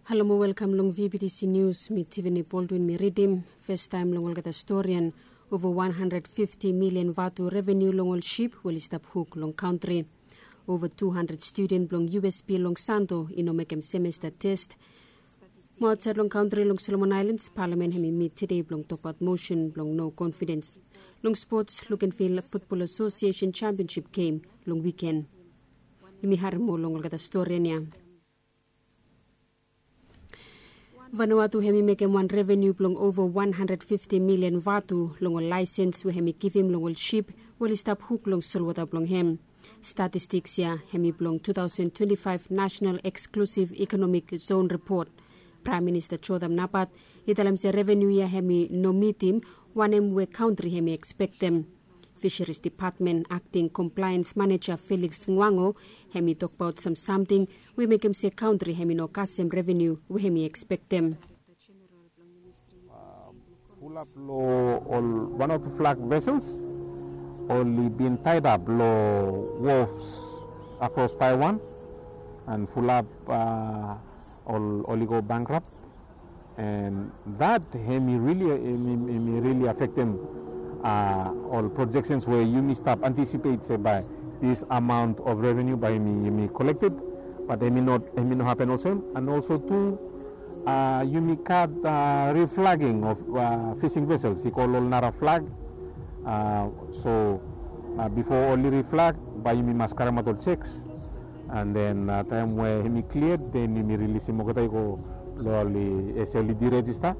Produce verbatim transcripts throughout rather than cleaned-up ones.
Halo mo welkam long V B T C News, mi Tiffany Baldwin mi ridim. Festaem long olgeta storian, ova wan handred fifti milian vatu reveniu long ol sip we oli stap huk long kantri. Ova tu handred studen blong U S P long Santo i no mekem semesta test. Mo aotsaed long kantri long Solomon Aelens, palamen hem i mit tede blong tokbaot mosen blong no konfidens. Long spots, Lukenvil Futbol Asosiesen Sempionsip gem long wiken. Yumi harem moa long olgeta storian ya. Vanuatu hem i mekem wan reveniu blong ova wan handred fifti milian vatu long ol laesens we hem i givim long ol sip we oli stap huk long solwota blong hem. Statistiks ya hem i blong tu taosen twenti faef National Eksklusiv Ikonomik Zon Ripot. Praem Minista Jotham Napat i talem se reveniu ya hem i no mitim wanem we kantri hem i ekspektem. Fisheries Depatmen Akting Komplaens Maneja Felix Nguango hem i tokbaot sam samting we i mekem se kantri hem i no kasem reveniu we hem i ekspektem. Fulap lo ol Vanuatu flag vessels oli bin tied up lo wharfs across Taiwan, and fulap uh, ol oli go bankrupt, and that hemi really hemi, hemi really affectem uh, ol projections where yumi stap anticipate se by this amount of revenue by hemi, hemi collected, but hemi not hemi no happen also, and also too uh, yumi gat uh, reflagging of uh, fishing vessels i go lo nara flag. Uh, so uh, before oli reflag by yumi mas karemaot ol checks, and then uh, taem we hemi cleared then yumi rilisim olgeta i go lo oli ese oli deregister.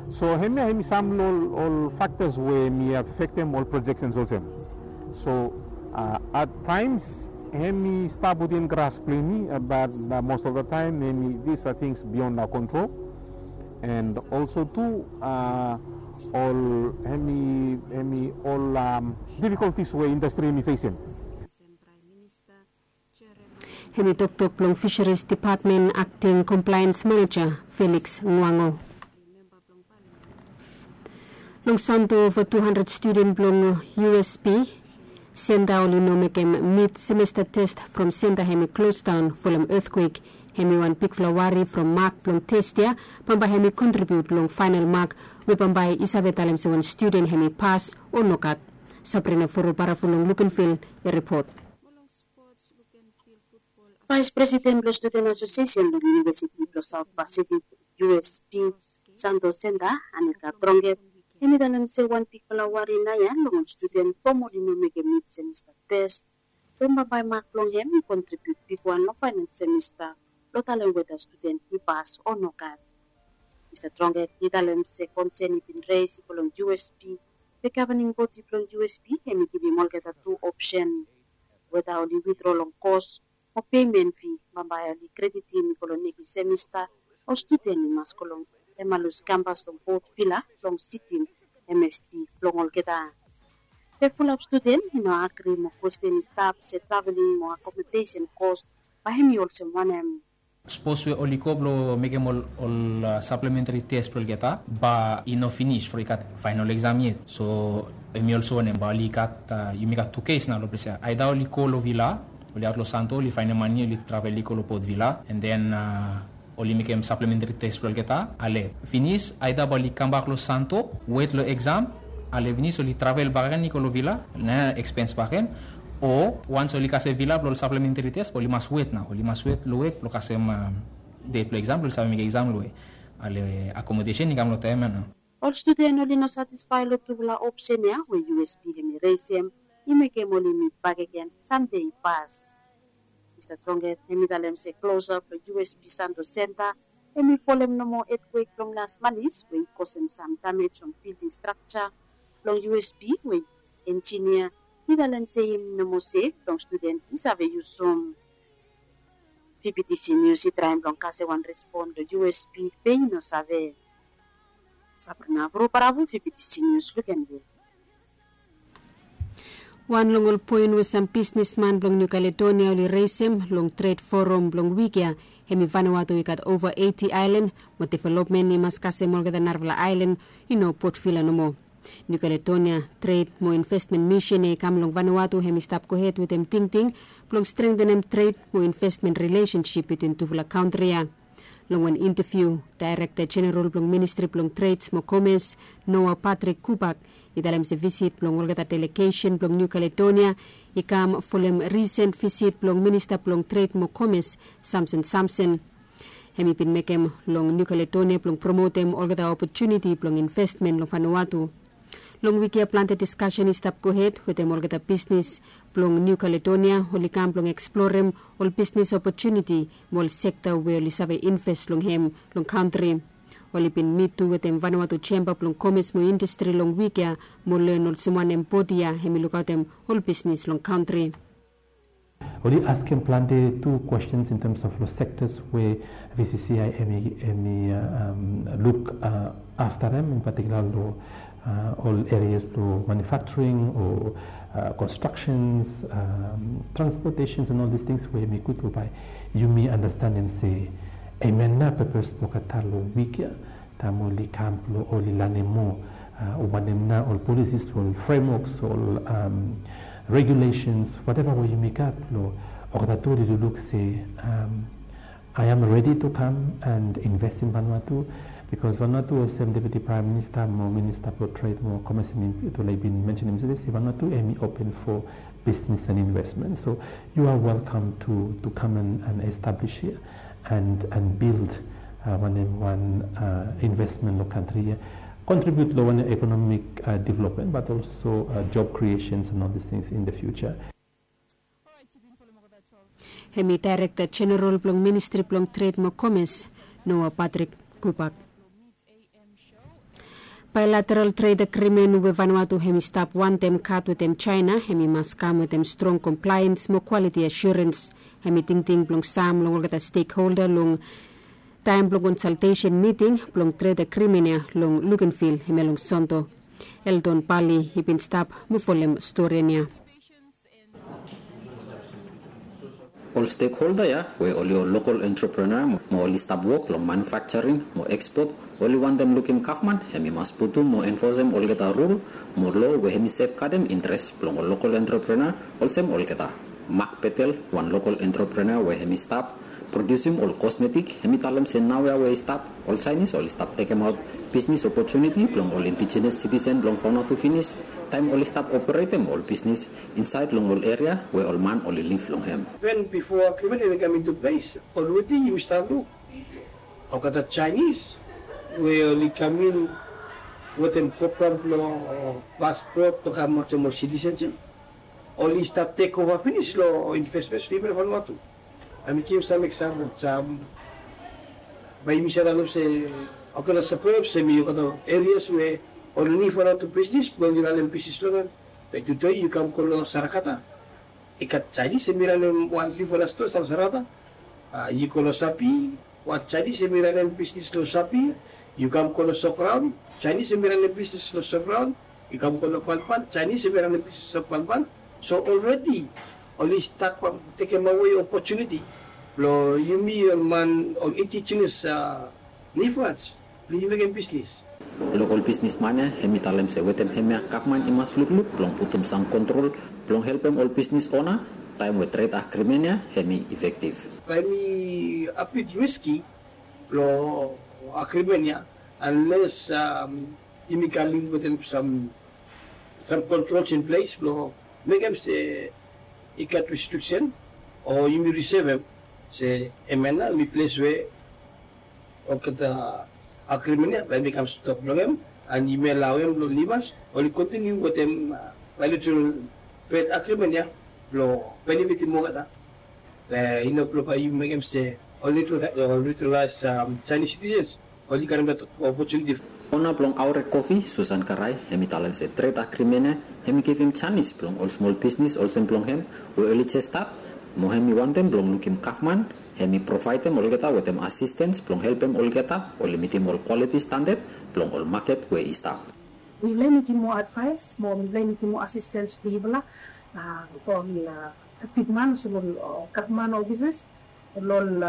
So hemia hemi sam lo ol factors we hemi affectem ol projections olsem. So uh, at times hemi stap within grasp blong yumi, uh, but uh, most of the time hemi these are things beyond our control, and also too uh, ol hemi hemi ol um, difficulties we industry hemi facem. Hemi toktok blong Fisheries Depatmen Akting Komplaens Maneja Felix Nguango. Long Santo ova tu handred studen blong U S P senta oli no mekem mit semesta test from senta hemi klosdaon folem etkwek. Hemi wan bigfala wari from mak blong test ya bambae hemi kontribiut long faenal mak we bambae i save talem se wan studen hemi pas o nogat. Sabrina Foro Barafu long Lukenvil i ripot. Vaes Presiden blong Studen Asosiesen long Univesiti blong Saot Pasifik, U S P, Santo Senta, Anika Tronget, hem i talem se wan bigfala wari nao ya long ol studen from oli no mekem mit semesta tes, from bambae mak blong hem i kontribiut bigwan long faenal semesta blong talem weta studen i pas o nogat. Mista Tronget i talem se konsen i bin res i go long U S P, we gavaning bodi blong U S P hem i givim olgeta tu opsen, weta oli witdro long kos o pemen fi bambae oli kreditim i go long nekis semesta, o studen i mas go long Emmaus kampas long Port Vila blong sitim M S T blong olgeta. Be fulap studen i no agri mo kwesten i stap se traveling mo akomodesen kos bae hem i olsem wanem. Sapos we oli go blong mekem ol saplementari tes blong olgeta bae i no finis from i gat faenal eksam yet. So hem i olsem wanem bae oli gat, yumi gat tu kes nao long ples ya, aeda oli go long Vila, oli aot long Santo, oli faenem mane, oli travel i go long Port Vila, and then oli mekem saplementari tes blong olgeta, ale finis aeda bae oli kambak long Santo, wet long eksam, ale finis oli travel bakegen i go long Vila, nao ekspens bakegen. O wans oli kasem Vila blong ol saplementari tes bae oli mas wet nao, oli mas wet long wet blong kasem det blong eksam blong oli save mekem eksam long we ale akomodesen i kam long taem ya nao. Ol studen oli no satisfae long tufala opsen ya we U S P hem i resem i mekem oli mit bakegen sande i pas. Mista Tronget hem i talem se klosap long U S P Santo Senta hem i folem nomo etkwek blong las manis we i kosem sam damej long bilding strakja blong U S P we enjinia i talem se hem i nomo sef blong studen i save yusum. V B T C Nius i traem blong kasem wan respon long U S P be i no save. Sabrina Avro Baravu, V B T C Nius, Lukenvil. Wan long ol poen we sam bisnisman blong Niu Kaledonia oli resem long tred forum blong wik ya, hem i Vanuatu i gat ova eiti aelan, mo developmen i mas kasem olgeta narafala aelan, i no Port Vila nomo. Niu Kaledonia Tred mo Investmen Misin ya i kam long Vanuatu hem i stap gohed wetem tingting blong strengtenem tred mo investmen rilesensip bitwin tufala kantri ya. Long wan intaviu, Daerekta Jeneral blong Ministri blong Treds mo Komes, Noah Patrick Kubak, i talem se visit blong olgeta delegesen blong Niu Kaledonia i kam folem risen visit blong Minista blong Tred mo Komes, Samson Samson. Hem i bin mekem long Niu Kaledonia blong promotem olgeta opotuniti blong investmen long Vanuatu. Long wik ya plante diskasen i stap gohed wetem olgeta bisnis blong Niu Kaledonia oli kam blong eksplorem ol bisnis opotuniti mo ol sekta we oli save invest long hem long kantri. Oli bin mit tu wetem Vanuatu Jemba blong Komes mo Indastri long wik ya mo len olsem wanem bodi ya hem i lukaotem ol bisnis long kantri. Oli askem plante tu questions in terms of lo sectors we V C C I hem i, hem i uh, um, luk uh, afta hem, in particular lo uh, ol areas lo manufacturing o uh, constructions, um, transportations and all these things we hem i gud lo bae yumi andastanem se hemia nao purpose blo olgeta lo wik ya. Taem oli kam blo oli lanem moa uh, wanem nao ol policies, ol frameworks, ol um, regulations, whatever we yumi gat blo olgeta tu oli lukluk se um, I am ready to come and invest in Vanuatu, because Vanuatu olsem Deputy Prime Minister mo Minister blo Trade mo Commerce hem i tu oli bin mentionem yesterday se Vanuatu hem i open for business and investment. So you are welcome to, to come and, and establish here and, and build uh, wanem wan uh, investment lo kantri ya, contribute lo wanem economic uh, development, but also uh, job creations and all these things in the future. Hem i Daerekta Jeneral blong Ministri blong Tred mo Komes, Noah Patrick Kubak. Bilateral tred agrimen we Vanuatu hem i stap wantem gat wetem Jaena hem i mas kam wetem strong komplaens mo kwaliti asurens. Hem i tingting blong sam long olgeta stekholda long taem blong konsaltesen miting blong tred agrimen ya long Luganville hemia long Sonto. Eldon Bali i bin stap mo folem storian ya. Ol stekholda ya we oli ol lokol entreprenua mo oli stap wok long manufakjaring mo ekspot, oli wantem lukim gavman hem i mas putum mo enfosem olgeta rul mo loa we hem i sefgadem interes blong ol lokol entreprenua olsem olgeta. Mak Petel, wan lokol entreprenua we hem i stap prodiusim ol kosmetik, hem i talem se naoia we i stap ol Jaenis oli stap tekemaot bisnis opotuniti blong ol indijines sitisen blong Vanuatu finis taem oli stap operetem ol bisnis insaed long ol eria we ol man oli liv long hem. Even before agreement even come into place, already you start look olgeta Jaenis we oli kam in wetem program blong paspot blong kam olsem ol sitisen ya. Oli stap tekova finis long investments blong yumi long Vanuatu. Bae mi givim sam eksampol, sam bae yumi save talem se olgeta suburbs hemi olgeta erias we oli nid Vanuatu bisnis blong oli ranem bisnis long hem. Be tude yu kam go long Sarakata, i gat Jaenis hemi ranem wan bigfala stoa long Sarakata. Yu go long Sapi, wan Jaenis hemi ranem bisnis long Sapi. Yu kam go long Sograon, Jaenis hemi ranem bisnis long Sograon. Yu kam go long Banban, Jaenis hemi ranem bisnis long Banban. So already oli stat tekemawe opotuniti blong yumi ol man, ol indijines nifas blong yumi mekem bisnis. Lokol bisnisman ya hemi talem se wetem hemia gavman i mas lukluk blong putum sam kontrol blong helpem ol bisnis ona taem we tred agrimen ya hemi efektiv. Bae hemi a bit riski long agrimen ya, unless yumi kam in wetem sam, sam controls in place blong mekem se i gat restriksen o yumi risevem se hemia nao hemi ples we olgeta agrimen ya bae hemi kam stop long hem, and yumi alaoem blong nifas oli kontiniu wetem bilateral tred agrimen ya blong benefitim olgeta. Be i no blong bae yumi mekem se oli nid tu, oli nid tu laes Jaenis sitisens oli karem dat opotuniti. Ona blong Aorek Kofi, Susan Karai, hemi talem se tred agrimen ya hemi givim janis blong ol smol bisnis olsem blong hem we oli jes stat, mo hemi wantem blong lukim gavman hemi provaedem olgeta wetem asistens blong helpem olgeta oli mitim ol kwaliti standad blong ol maket we i stap. Mifala i nidim moa advaes mo mifala i nidim moa asistens long yufala, ol bigman olsem ol gavman ofises, ol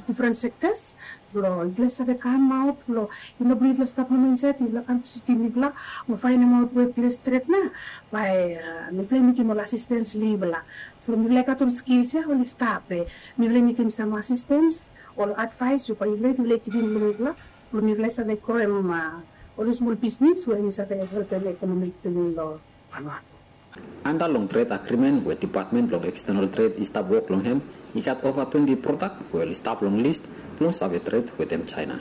difren sektas, blong yufala i save kamaot, blong i no blong yufala stap hom insaed, yufala kam visitim mifala mo faenemaot we ples stret nao bae mifala i nidim ol asistens long yufala. So mifala i gat ol skils ya oli stap, be mifala i nidim sam asistens Ol advaes we bae yufala yufala givim long yufala blong yufala save groem ol smol bisnis we em i save helpem ekonomi bilong long Vanuatu. Anda long tred agrimen we depatmen blong ekstenal tred i stap wok long hem, i gat ova twenti prodak we oli stap long lis blong save tred wetem China.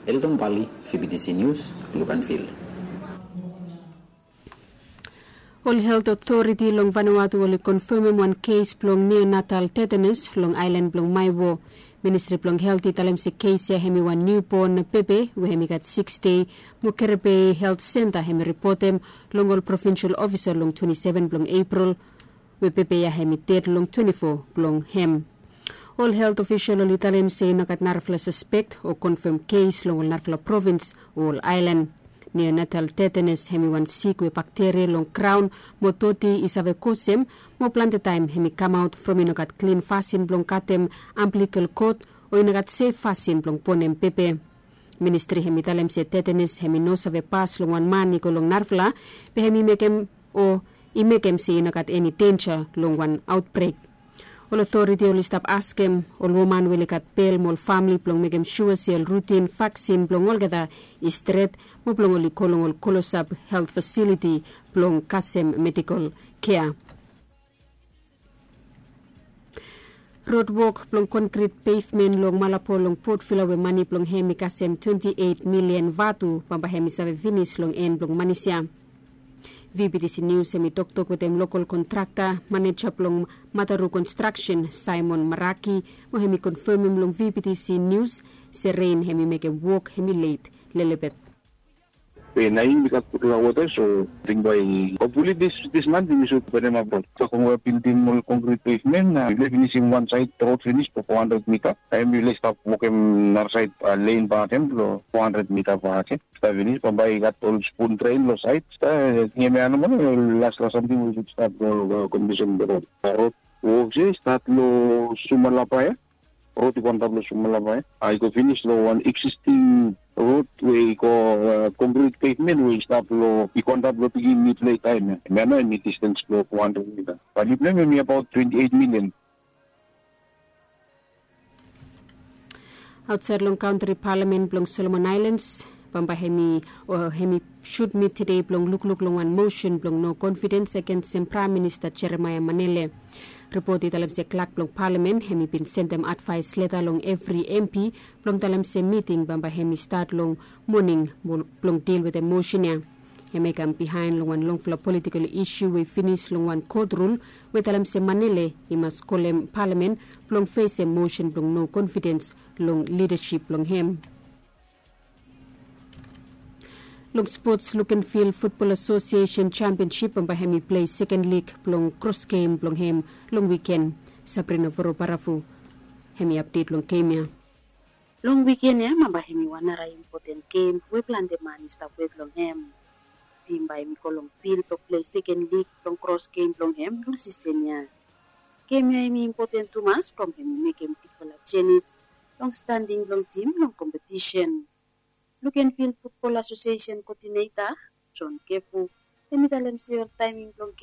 Eldon Bali, V B T C News, Luganville. Ol helt otoriti long Vanuatu oli konfemem wan kes blong neonatal tetanus long ailan blong Maewo. Ministri blong Helt i talem se kes ya hem i wan niubon bebe we hem i gat siks dei, mo Kerepe Helt Senta hem i ripotem long ol provinsal ofisa long twenti seven blong Epril, we bebe ya hem i ded long twenti fo blong hem. Ol helt ofisal oli talem se i no gat narafala saspek o konfem kes long ol narafala provins o ol ailan. Neonatal tetanus hem i wan sik we bakteria long graon mo doti i save kosem, mo plante taem hem i kamaot from i no gat klin fasin blong katem amblikel kot o i no gat sef fasin blong bonem bebe. Ministri hem i talem se tetanus hem i no save pas long wan man i go long narafala, be hem i mekem o i mekem se i no gat eni denja long wan aotbrek. Ol otoriti oli stap askem ol woman we oli gat bel mo ol famle blong mekem sua se ol rutin vaksin blong olgeta i stret, mo blong oli go long ol klosap helt fasiliti blong kasem medikol kea. Rod wok blong konkrit pevmen long Malabo long Port Vila we mane blong hem i kasem twenti eit milian vatu bambae hem i save finis long en blong manis ya. V B T C News hem i toktok wetem lokol kontrakta, maneja blong Mataru Construction, Simon Maraki, mo hem i konfemem long V B T C News se ren hem i mekem wok hem i let lelebet. Be naoia yumi gat gutpela wota, so ting bae hopefully this this month yumi should put them up road. So kong we bildim ol konkrit pavement, yumi finisim wan side road finis for four hundred mita. Taem yumi stap wokem nara side lane batem long four hundred mita batem. Stap finis bambae i gat ol spoon drain long side. Stap tingim ya nomo, las las samting we should start long condition the road. Road wok se start long Sumalapa ya. Rod i go antap long Sumalapa ya, i go finis long wan existing rod we i go konkrit pevmen we i stap long, i go antap long pikinini plei taem ya. Em ya nao em i distens blong four hundred mita. Value blong em em i abaot twenty eight million. Ausait long kantri, palamen blong Solomon Ailens bambae hem i o hem i sud mit tede blong lukluk long wan mosen blong no konfidens agensem Praem Minista Jeremaia Manele. Ripot i talem se klak blong palamen hem i bin sendem advaes leta long evri M P blong talem se miting bambae hem i stat long moning blong dil wetem mosen ya. Hem i kam bihaen long wan longfala politikol isu we i finis long wan kot rul we talem se Manele i mas kolem palamen blong fesem mosen blong no konfidens long lidasip blong hem. Long spots, Lukenvil Futbol Asosiesen Sempionsip bambae hem i plei seken lig blong kros gem blong hem long wiken. Sabrina Vorobaravu hem i apdet long gem ya. Long wiken ya bambae hem i wan nara impoten gem we plante man i stap wet long hem. Tim bae hem i go long fil blong plei seken lig blong kros gem blong hem long sisen ya. Gem ya hem i impoten tumas from hem i mekem bigfala jenis long standing blong tim long kompetisen. Lukenvil Futbol Asosiesen Koodineta John Kefu hem i talem se ol taeming blong